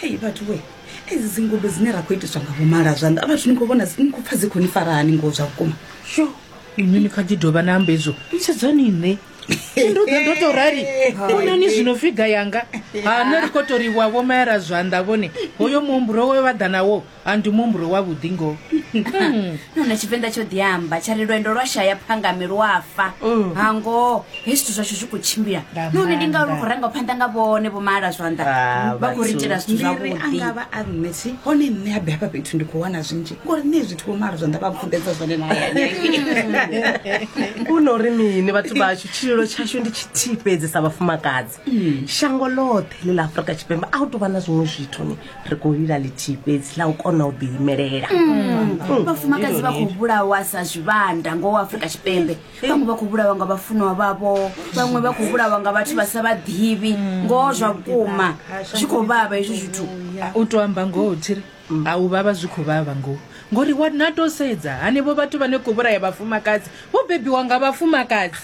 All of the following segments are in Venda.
Ei vhathu we, edzi dzingudo dzine ra khou itiswa nga vhomala zwanḓa vhathu ni khou vhona ni khou pfa dzi khou ni fara hani ngoho zwa vhukuma. Sho, inwi ni kha ḓi dovha na amba hezwo. Sedzani nṋe. Ndo ḓa ndo tou rali. Vhonani zwino figa yanga. Ha nṋe ri khou tou ri wa vhomaela zwanḓa vhone. Hoyo muhumbulo we vha ḓa nawo a ndi muhumbulo wavhuḓi ngoho. Nahone Tshivenḓa tsho ḓi amba tsha ri lwendo lwa shaya phangami lwa fa. Ha ngoho hezwi zwithu zwashu zwi khou tshimbila. Nga Nahone ndi ngauri maanḓa. ri khou rangwa phanḓa nga vhone vho maala zwanḓa. Ah, Vha khou ri vhathu. itela zwithu Ndi ri a zwavhuḓi. nga vha a nṋe thi hone nṋe habe hafha fhethu ndi khou wana zwinzhi ngori nṋe zwithu vho maala zwanḓa vha pfunḓedza zwone na hayani. Hu no ri mini vhathu vhashu, tshililo tshashu ndi tshithihi fhedzi sa vhafumakadzi. Shango ḽoṱhe ḽi ḽa Afrika Tshipembe a hu tou vha na zwiṅwe zwithu ni ri khou lila ḽithihi fhedzi ḽa u kona u ḓiimelela. Vhafumakadzi vha khou vhulawa sa zwivhanda ngoho Afrika Tshipembe. Vhaṅwe vha khou vhulawa nga vhafunwa vhavho, vhaṅwe vha khou vhulawa nga vhathu vha sa vha ḓivhi. Ngoho zwa vhukuma zwi khou vhavha hezwi zwithu. U tou amba ngoho thiri a u vhavha zwi khou vhavha ngoho ngori wa na tou sedza hanevho vhathu vhane khou vhulaya vhafumakadzi vho bebiwa nga vhafumakadzi.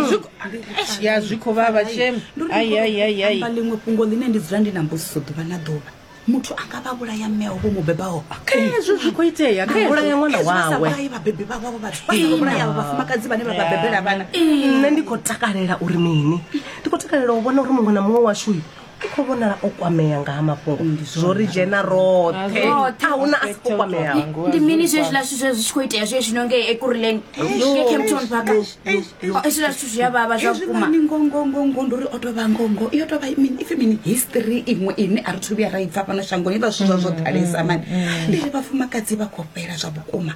Zwi khou- Eish, ya zwi khou vhavha shem. Ndo ri Ai, ai, ai, ai. amba ḽiṅwe fhungo ḽine ndi dzula ndi na mbudziso ḓuvha na ḓuvha. Muthu a nga vha vhulaya mme awe vho mu bebaho. Khezwo zwi khou itea, khezwo. Vhulaya ṅwana Khezwo vha sa wawe. vhulayi vhabebi vhavho avho vhathu, vha sa vhulaya avho vhafumakadzi vhane vha vha bebela vhana. Nṋe ndi khou takalela uri mini? Ndi khou takalela u vhona uri muṅwe na muṅwe washu u khou vhonala o kwamea nga ha mafhungo. Zwo ri dzhena roṱhe. Roṱhe. A huna a si khou kwameaho. Ndi mini zwezwiḽa zwithu zwe zwi tshi khou itea zwe zwino ngei Ekurhuleni, ngei Kempton Park? Hezwiḽa zwithu zwi a vhavha zwa Hezwi vhukuma. mani ngo ngo ngo ngo ndi uri o tou vha ngo ngo yo tou vha mini ipfi mini history iṅwe ine a ri thu vhuya ra i pfa fhano shangoni vha zwithu zwa zwo ḓalesa mani. Ndi ri vhafumakadzi vha khou fhela zwa vhukuma.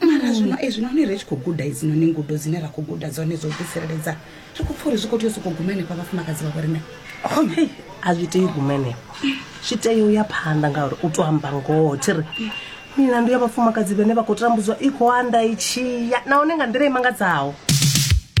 Mara zwino ezwinoni ri tshi khou guda edzinoni ngudo dzine ra khou guda dzone dzo ḓitsireledza ri khou pfa uri zwi khou tea u sokou guma henefha vhafumakadzi vha vho riṋe. Hei, a zwi tei u guma henefho, zwi tea u ya phanḓa ngauri u tou amba ngoho thi ri milandu ya vhafumakadzi vhane vha khou tambudzwa i khou anda i tshi ya nahone nga nḓila i mangadzaho.